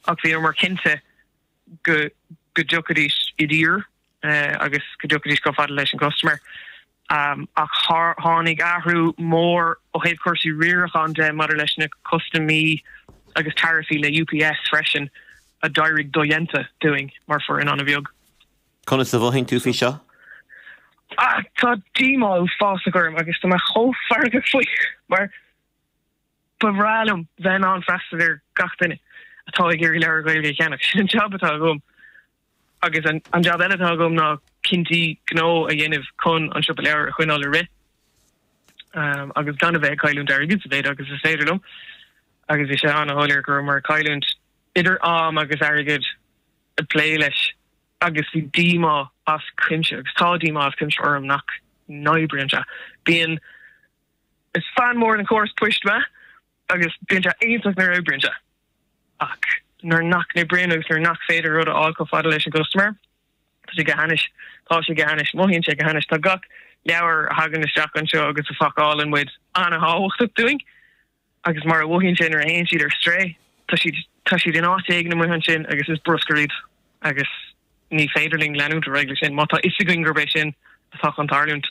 Ach bhíomar cinnte go go dtiocfaidís i dtír agus go dtiocfaidís chomh fada leis an gcustaiméir. Ach tháinig athrú mór ó thaobh cúrsaí riaracháin de maidir leis na custaimaí agus taraifí le UPS freisin a d'éirigh dodhéanta dúinn mar foireann an-bheag. Conas a mhothaíonn tú faoi seo? Tá díomá uafásach orm agus tá mé chomh feargach faoi mar ba bhreá liom bheith in ann freastal ar gach duine atá ag iarraidh leabhar Gaeilge a cheannach. Sin an jab atá agam. Agus an jab eile atá agam ná cinntí gnó a dhéanamh chun an siopa leabhar a choinneáil ag rith agus gan a bheith ag cailliúint airgid sa mhéid agus is féidir liom. Agus bhí sé an-shoiléir go rabhamar ag cailliúint idir am agus airgead ag plé leis agus bhí díomá as cuimse agus tá díomá as cuimse orm nach n-oibríonn sé. Bíonn, is fan mór den chóras poist mé agus bíonn sé iontach nuair a oibríonn sé ach nuair nach n-oibríonn agus nuair nach féidir rud a fháil chomh fada leis an gcustaiméir, tá sé go hainnis, tá sé go hainnis, mothaíonn sé go hainnis. Tá gach leabhar a thagann isteach anseo agus a phacálann muid an-thábhachtach dúinn. Agus mar a mhothaíonn sé nuair a théann siad ar strae, tá siad, tá siad in áit éigin amuigh ansin agus is bruscar iad agus ní féidir linn leanúint ar aghaidh leis sin má tá fhios againn gurb é sin atá chun tarlúint.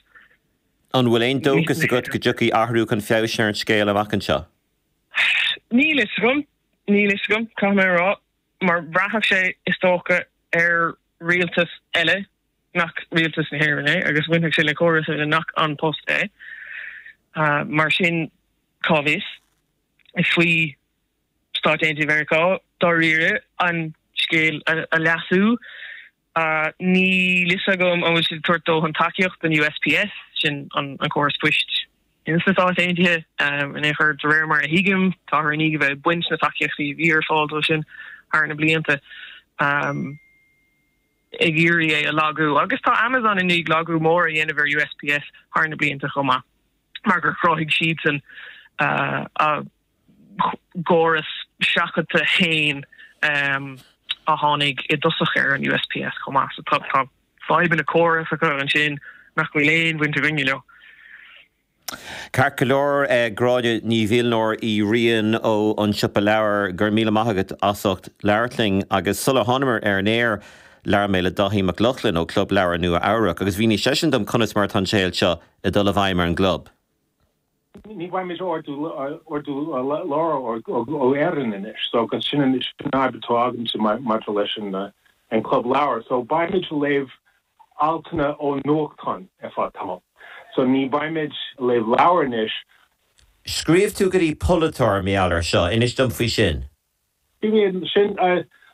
An bhfuil aon dóchas agat go dtiocfaidh athrú chun feabhais ar an scéal amach anseo? Níl fhios agam, níl fhios agam, caithfidh mé a rá, mar bhraithfeadh sé, is dócha, ar rialtas eile nach rialtas na hÉireann é agus bhainfeadh sé le córas eile nach An Post é. Mar sin, cá bhfios? Is faoi Stáit Aontaithe Mheiriceá, dáiríre, an scéal a leasú. Níl fhios agam an bhfuil siad ag tabhairt dóthain tacaíocht don USPS, sin an córas poist ins na Stáit Aontaithe. In aon chor, de réir mar a thuigim, táthar i ndiaidh a bheith ag baint na tacaíochtaí a bhí ar fáil dó sin thar na blianta. ag iarraidh é a lagú agus tá Amazon i ndiaidh lagú mór a dhéanamh ar USPS thar na blianta chomh maith mar gur chruthaigh siadsan a gcóras seachadta féin a tháinig i dtosach ar an USPS chomh maith. So tá fadhbanna córasacha ansin nach bhfuil aon bhaint againne leo. Ceart go leor, Gráinne Ní Mhilnóir Uí Riain ó An Siopa Leabhar, go raibh míle maith agat as ucht labhairt linn. Agus sular thánamar ar an aer, labhair mé le Dáithí Mac Lochlainn ó Club Leabhar Nua Eabhrac agus mhínigh seisean dom conas mar atá an scéal seo ag dul i bhfeidhm ar an gclub. Ní bhfaighimid ordú leabhar ó Éirinn anois, so agus sin an fhadhb atá agamsa maidir leis an club leabhar. So beimid ag léamh altanna ó nuachtán ar feadh tamaill. So ní bheimid ag léamh leabhar anois. Scríobh tú go dtí polaiteoir mar gheall air seo, inis dom faoi sin. Bhí sin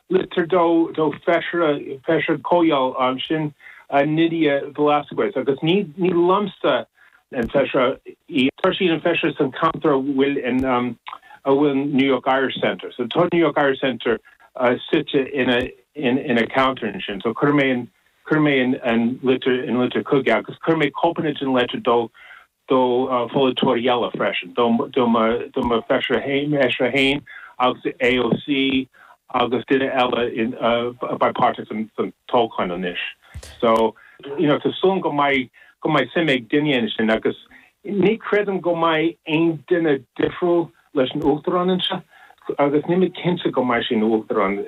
litir do do feisire feisire comhdháil sin Nydia Velázquez agus ní ní liomsa an feisire í. Tá sí an feisire san ceantar a bhfuil an a bhfuil New York Irish Center. So tá New York Irish Center suite ina ina ceantar ansin. So chuir mé an chuir mé an an litir an litir chuige agus chuir mé cóipeanna den litir do do pholaiteoirí eile freisin, do do mo do mo feisire fhéin fheisire fhéin agus AOC agus duine eile in a beidh páirteach san san toghchán anois. So you know tá súil agam go mbeidh go mbeidh suim ag duine ansin agus ní chreidim go mbeidh aon duine difriúil leis an uachtarán anseo agus níl mé cinnte go mbeidh sé ina uachtarán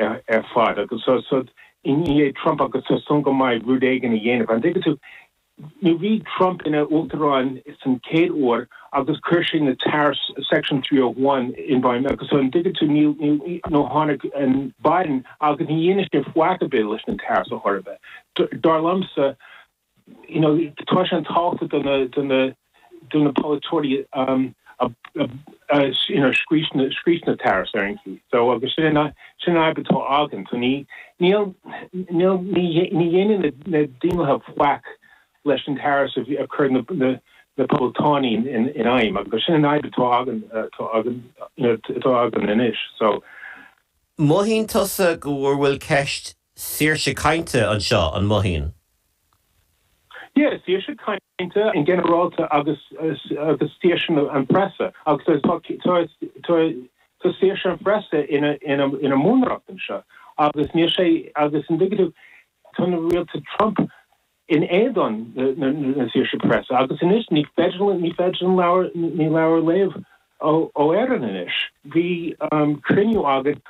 ar fad agus so so i ndiaidh Trump agus tá súil agam go mbeidh rud éigin a dhéanamh. An dtuigeann tú, nuair bhí Trump ina uachtarán san chéad uair agus chuir sé na tariffs Section 301 i bhfeidhm agus so an dtuigeann tú níl níl nó tháinig an Biden agus ní dhéanann sé faic ar bith leis na tariffs a chor ar bith. Dar liomsa you know, tá sé an-tábhachtach do na, do na, do na polaiteoirí um, a, a, you know, scrios na, scrios na tariffs ar an chaoi. So agus sin an, sin an fhadhb atá againn. So ní, níl, níl, ní, ní dhéanann na, na Daonlathaithe faic leis an tariffs a, a chuir na, na, na Poblachtánaigh in, in, in fheidhm. Agus sin an fhadhb atá againn, atá againn, you know, atá againn anois. So. Mothaíonn tusa go bhfuil ceist saoirse cainte anseo, an mothaíonn? Yeah, saoirse cainte in ginearálta agus agus saoirse an preasa agus tá tá tá tá saoirse an phreasa ina ina ina mbunreacht anseo agus níl sé agus an dtuigeann tú tá na rialta Trump in éadan na na saoirse preasa agus anois ní féidir ní féidir an leabhar ní leabhar a léamh ó ó Éirinn anois. Bhí cruinniú againn.